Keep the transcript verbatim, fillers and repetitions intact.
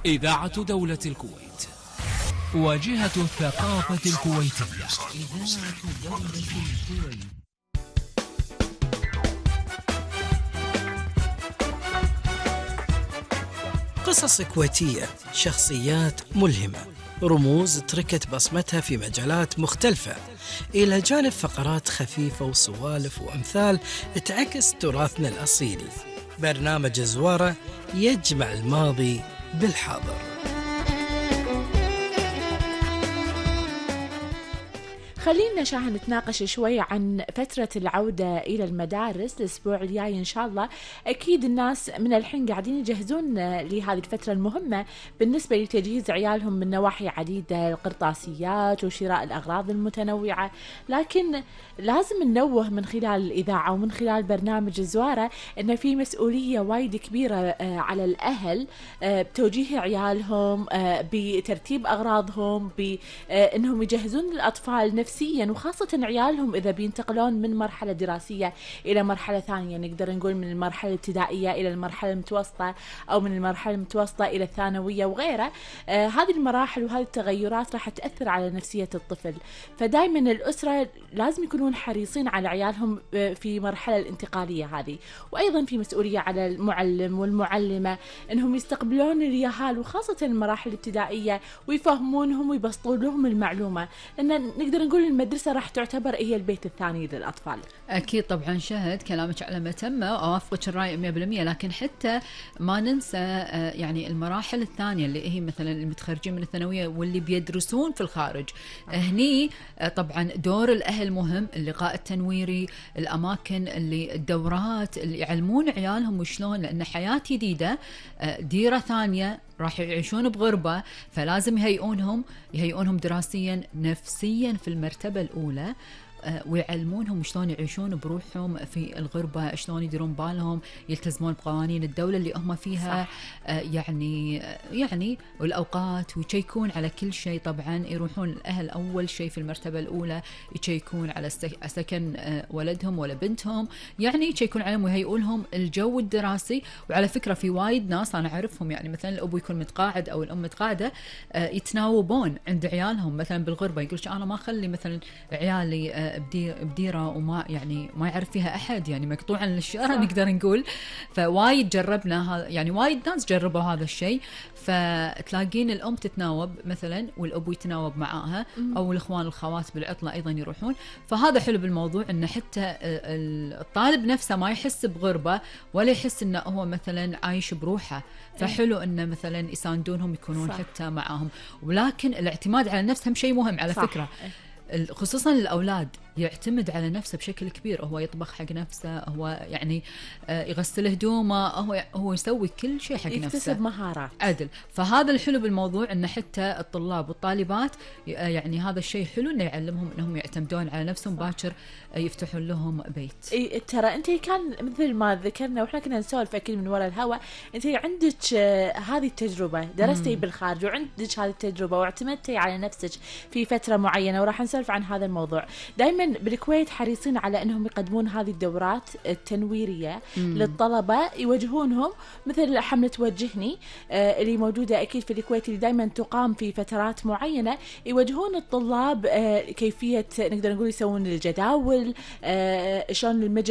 إذاعة دولة الكويت، واجهة الثقافة الكويتية. إذاعة دولة الكويت. قصص كويتية، شخصيات ملهمة، رموز تركت بصمتها في مجالات مختلفة، إلى جانب فقرات خفيفة وسوالف وأمثال تعكس تراثنا الأصيل. برنامج زوارة يجمع الماضي بالحاضر. خلينا شاهد نتناقش شوي عن فترة العودة إلى المدارس الأسبوع الجاي إن شاء الله. أكيد الناس من الحين قاعدين يجهزون لهذه الفترة المهمة بالنسبة لتجهيز عيالهم من نواحي عديدة، القرطاسيات وشراء الأغراض المتنوعة، لكن لازم ننوه من خلال الإذاعة ومن خلال برنامج الزوارة أن في مسؤولية وايد كبيرة على الأهل بتوجيه عيالهم، بترتيب أغراضهم، بأنهم يجهزون الأطفال نفسيا، وخاصة عيالهم إذا بينتقلون من مرحلة دراسية إلى مرحلة ثانية، نقدر نقول من المرحلة الابتدائية إلى المرحلة المتوسطة، أو من المرحلة المتوسطة إلى الثانوية وغيرها. آه هذه المراحل وهذه التغيرات راح تأثر على نفسية الطفل، فدايما الأسرة لازم يكونون حريصين على عيالهم في مرحلة الانتقالية هذه. وأيضا في مسؤولية على المعلم والمعلمة أنهم يستقبلون اليهال وخاصة المراحل الابتدائية ويفهمونهم ويبسطون لهم المعلومة، لأن نقدر نقول المدرسة راح تعتبر هي البيت الثاني للأطفال. أكيد طبعا شهد كلامك على ما تم، أوافقك الرأي مية بالمية، لكن حتى ما ننسى يعني المراحل الثانية اللي هي مثلا المتخرجين من الثانوية واللي بيدرسون في الخارج. هني طبعا دور الأهل مهم، اللقاء التنويري، الأماكن اللي الدورات اللي يعلمون عيالهم وشلون، لأن حياة جديدة، ديرة ثانية، راح يعيشون بغربة، فلازم يهيئونهم يهيئونهم دراسيا نفسيا في المرتبة الأولى، ويعلمونهم شلون يعيشون بروحهم في الغربة، شلون يديرون بالهم، يلتزمون بقوانين الدولة اللي هم فيها. صح. يعني يعني والأوقات، ويشيكون على كل شيء. طبعا يروحون الأهل أول شيء في المرتبة الأولى يشيكون على سكن ولدهم ولا بنتهم، يعني يشيكون عليهم ويهيئونهم الجو الدراسي. وعلى فكرة في وايد ناس أنا أعرفهم، يعني مثلا الأب يكون متقاعد أو الأم متقاعدة، يتناوبون عند عيالهم مثلا بالغربة، يقولش أنا ما أخلي مثلا عيالي بديرة وما يعني ما يعرف فيها أحد، يعني مقطوعا للشارع نقدر نقول. فوايد جربنا هذا، يعني وايد ناس جربوا هذا الشيء. فتلاقين الأم تتناوب مثلا والأب يتناوب معاها، أو الإخوان الخوات بالعطلة أيضا يروحون. فهذا حلو بالموضوع، إن حتى الطالب نفسه ما يحس بغربة ولا يحس إنه هو مثلا عايش بروحه. فحلو إنه مثلا يساندونهم يكونون. صح. حتى معاهم. ولكن الاعتماد على النفس هم شيء مهم على. صح. فكرة خصوصا الأولاد، يعتمد على نفسه بشكل كبير. هو يطبخ حق نفسه، هو يعني يغسل هدومه، هو هو يسوي كل شيء حق نفسه، يكتسب مهارات. عدل. فهذا الحلو بالموضوع، ان حتى الطلاب والطالبات يعني هذا الشيء حلو انه يعلمهم انهم يعتمدون على نفسهم. باكر يفتحون لهم بيت. إيه ترى انت كان مثل ما ذكرنا واحنا كنا نسولف اكيد من وراء الهواء، انت عندك هذه التجربه، درستي مم. بالخارج وعندك هذه التجربه واعتمدتي على نفسك في فتره معينه، وراح نسولف عن هذا الموضوع. دائما بالكويت حريصين على أنهم يقدمون هذه الدورات التنويرية مم. للطلبة، يوجهونهم مثل حملة وجهني آه اللي موجودة أكيد في الكويت، اللي دائما تقام في فترات معينة، يوجهون الطلاب آه كيفية نقدر نقول يسوون الجداول، آه شلون المجر